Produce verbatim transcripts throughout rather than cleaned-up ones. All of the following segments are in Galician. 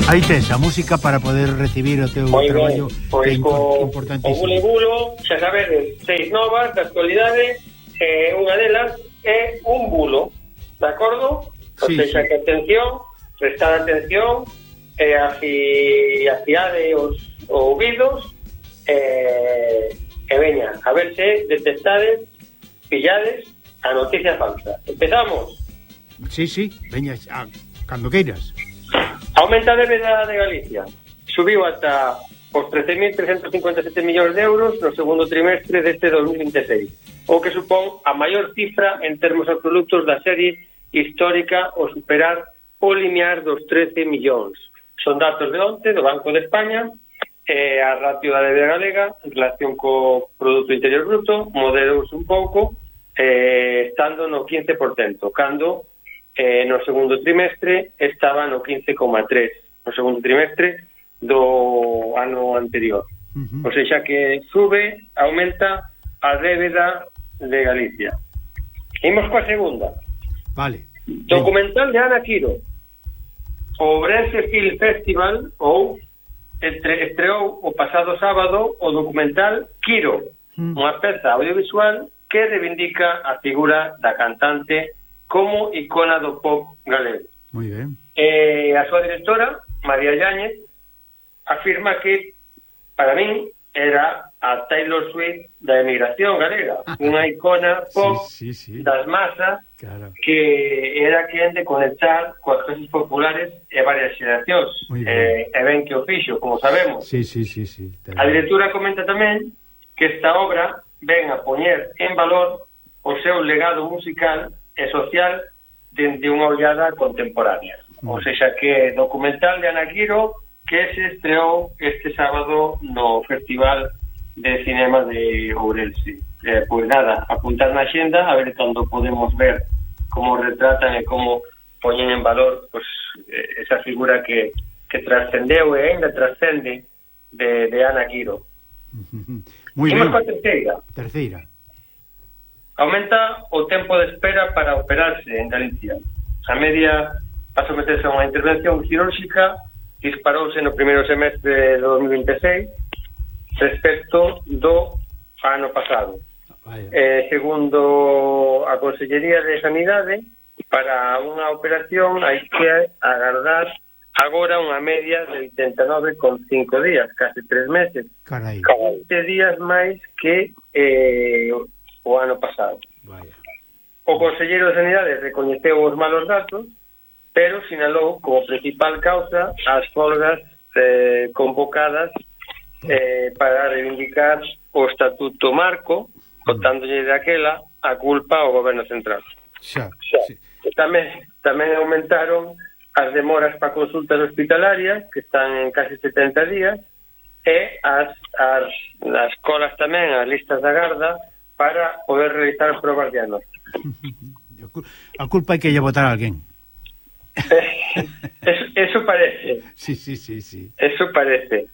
Aí tes a música para poder recibir o teu Moi traballo ben, pois que é co, importantísimo. O Bulo Bulo, xa sabedes, seis novas da actualidade, eh, unha delas é un bulo, de acordo? Sí, O seja, sí. que atención, prestar atención, e eh, afi, afiade os ouvidos, eh, e veña, a ver se detectades, pillades a noticia falsa. Empezamos. Sí, sí, veña, a, cando queiras. Aumenta a débeda de Galicia. Subiu ata os trece mil trescentos cincuenta e sete millóns de euros no segundo trimestre deste dos mil vinte e seis, o que supón a maior cifra en termos absolutos da serie histórica ao superar o limiar dos trece millóns. Son datos de onte do Banco de España, eh, a ratio da débeda galega en relación co Produto Interior Bruto moderouse un pouco, eh, estando no quince por cento, cando Eh, no segundo trimestre estaba no quince coma tres, no segundo trimestre do ano anterior. Uh-huh. O sea, que sube, aumenta a débeda de Galicia. Imos coa segunda. Vale. Documental de Ana Quiro. O Ourense Film Festival ou entre, estreou o pasado sábado o documental Quiro, uh-huh. unha peza audiovisual que reivindica a figura da cantante como icona do pop galego. Moi ben. Eh, a súa directora, María Yáñez, afirma que, para min, era a Taylor Swift da emigración galega, unha icona pop sí, sí, sí. das masas, claro. Que era quen de conectar coas clases populares e varias xeracións. Eh, e ben que o fixo, como sabemos. Sí, sí, sí, sí. A directora comenta tamén que esta obra ven a poñer en valor o seu legado musical e social dende unha ollada contemporánea. Mm. O seja, que documental de Ana Quiro que se estreou este sábado no Festival de Cinema de Ourense. Eh, pois nada, apuntar na xenda a ver cando podemos ver como retratan e como poñen en valor pues, esa figura que, que trascendeu e ainda trascende de, de Ana Quiro. Moi ben. Imos coa terceira. Terceira. Aumenta o tempo de espera para operarse en Galicia. A media para someterse a unha intervención quirúrxica disparouse no primeiro semestre de dos mil vinte e seis respecto do ano pasado. Eh, segundo a Consellería de Sanidade, para unha operación hai que agardar agora unha media de oitenta e nove coma cinco días, case tres meses. Carai. vinte días máis que eh, o ano pasado. Vaya. O Conselleiro de Sanidade recoñeceu os malos datos, pero sinalou como principal causa as folgas eh, convocadas eh, para reivindicar o Estatuto Marco, botándolle daquela a culpa ao Goberno Central. Xa, sí. Tamén, tamén aumentaron as demoras para consultas hospitalarias, que están en casi setenta días, e as, as, as colas tamén, as listas da garda, para poder realizar probas diagnósticas. A culpa hai que lle botar a alguén. eso, eso parece. Sí, sí, sí, sí. Eso parece.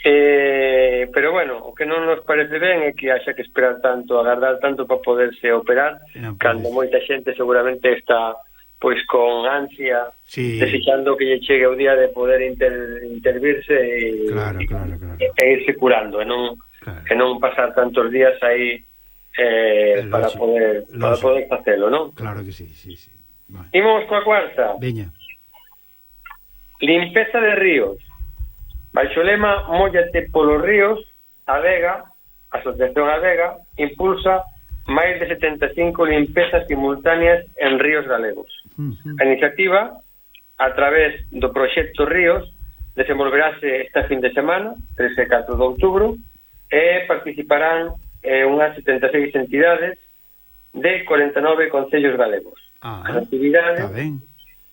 Eh, pero bueno, o que non nos parece ben é que haxa que esperar tanto, agardar tanto para poderse operar, no, cando moita xente seguramente está pois con ansia, sí, desexando que lle chegue o día de poder inter, intervirse e, claro, claro, claro. e, e irse curando, e non, claro, e non pasar tantos días aí eh, para poder para poder facelo, non? Claro que sí, sí, sí. Vale. Imos coa cuarta. Veña. Limpeza de ríos. Baixo lema Móllate polos ríos, a Vega, a Asociación A Vega, impulsa máis de setenta e cinco limpezas simultáneas en ríos galegos. Uh-huh. A iniciativa, a través do proxecto Ríos, desenvolverase esta fin de semana, tres e catro de outubro, e participarán eh, unhas setenta e seis entidades de corenta e nove concellos galegos. Ah, as actividades, está ben.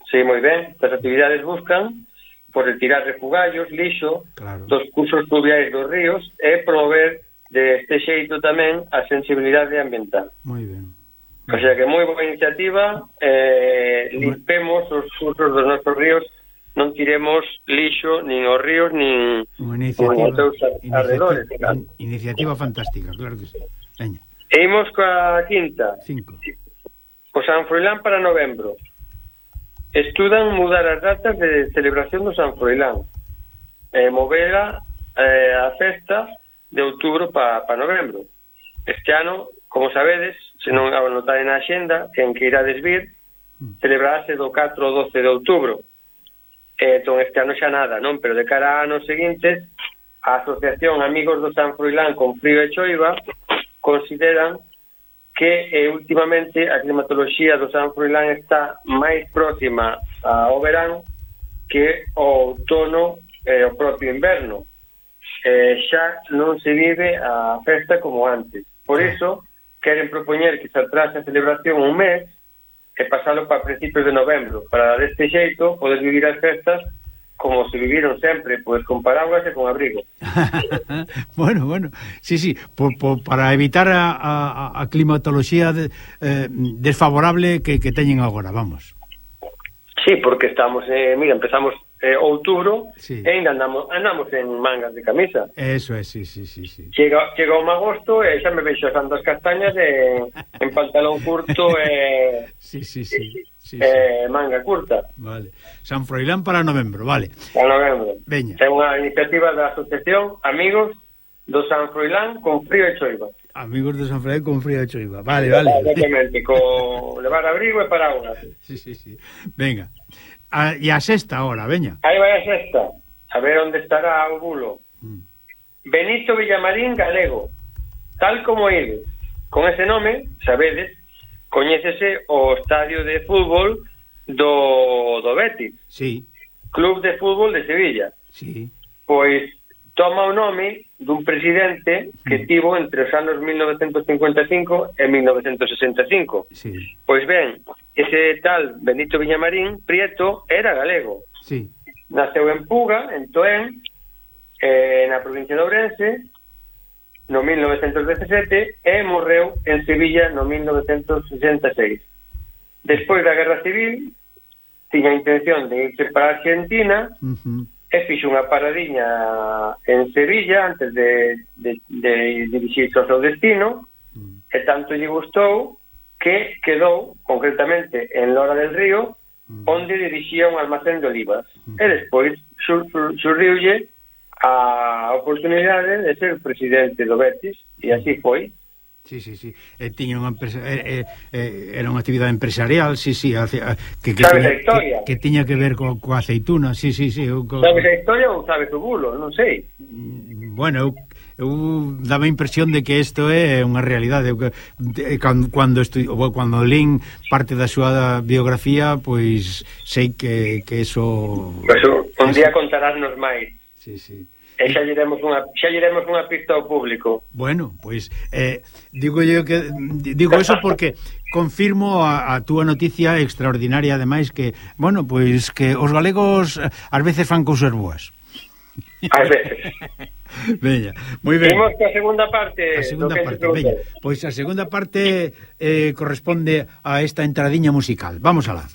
Sí, moi ben. As actividades buscan por retirar refugallos, lixo, claro, dos cursos fluviais dos ríos e promover deste xeito tamén a sensibilidade ambiental. Moi ben. O sea que moi boa iniciativa, eh, limpemos os cursos dos nosos ríos, non tiremos lixo nin os ríos nin os seus arredores. Iniciativa, iniciativa fantástica, claro que sí. Veña. E imos coa quinta. Cinco. O San Froilán para novembro. estudan mudar as datas de celebración do San Froilán e eh, movera eh, a festa de outubro para pa novembro. Este ano, como sabedes, se non anotade na axenda, quen que irades vir, celebrarase do catro ao doce de outubro. Eh, entón, este ano xa nada, non? Pero de cara a anos seguintes, a Asociación Amigos do San Froilán con Frío e Choiva consideran que eh, últimamente a climatoloxía do San Froilán está máis próxima ao verán que ao outono e ao propio inverno. Eh, xa non se vive a festa como antes. Por iso, queren propoñer que se atrase a celebración un mes e pasalo para principios de novembro, para deste xeito poder vivir as festas como se viviron sempre, pois con paraguas e con abrigo. Bueno, bueno, sí, sí, por, por, para evitar a, a, a climatoloxía de, eh, desfavorable que, que teñen agora, vamos. Sí, porque estamos, eh, mira, empezamos eh, outubro, sí. E ainda andamos, andamos en mangas de camisa. Eso é, sí, sí, sí, sí. Chega, chega un agosto e xa me veixo asando as castañas en, en pantalón curto e sí, sí, sí, sí, eh, sí. Manga curta. Vale. San Froilán para novembro, vale. Para novembro. Veña. É unha iniciativa da Asociación Amigos do San Froilán con Frío e Choiva. Amigos do San Froilán con Frío e Choiva. Vale, vale. Exactamente, con levar abrigo e paraguas. Sí, sí, sí. Venga. A, e a sexta ahora, veña. Aí vai a sexta. A ver onde estará o bulo. Mm. Benito Villamarín Galego. Tal como ides. Con ese nome, sabedes, coñécese o estadio de fútbol do, do Betis. Sí. Club de Fútbol de Sevilla. Sí. Pois toma o nome dun presidente que mm. tivo entre os anos mil novecentos cincuenta e cinco e mil novecentos sesenta e cinco. Sí. Pois ben, ese tal Benito Villamarín Prieto era galego. Sí. Naceu en Puga, en Toén, eh, na provincia de Ourense, no mil novecentos dezasete, e morreu en Sevilla no mil novecentos sesenta e seis. Despois da Guerra Civil, tiña a intención de irse para Argentina, uh-huh. e fixo unha paradiña en Sevilla antes de, de, de dirixirse ao seu destino, uh-huh. e tanto lle gustou que quedou, concretamente, en Lora del Río, uh-huh. onde dirixía un almacén de olivas. Uh-huh. E despois sur, sur, surriulle a oportunidade de ser presidente do Betis, e así foi. Sí, sí, sí. Eh, tiña unha empresa, eh, eh, era unha actividade empresarial, sí, sí, hace, que, que, sabes tiña, a historia? Que, que tiña que ver co, coa aceituna, sí, sí, sí. Eu, co... Sabes a historia ou sabes o bulo? Non sei. Bueno, eu, eu daba a impresión de que isto é unha realidade. Eu, cando, cando, estu, cando lín parte da súa biografía, pois sei que, que eso... Pues un día contarásnos máis. Sí, sí. E xa lle demos unha, xa lle demos unha pista ao público. Bueno, pois eh, digo yo que digo eso porque confirmo a, a túa noticia extraordinaria, ademais que, bueno, pois que os galegos ás veces fan cousas boas. Ás veces. Veña, moi ben. Imos coa segunda parte. A segunda parte, veña. Pois a segunda parte eh, corresponde a esta entradiña musical. Vamos alá.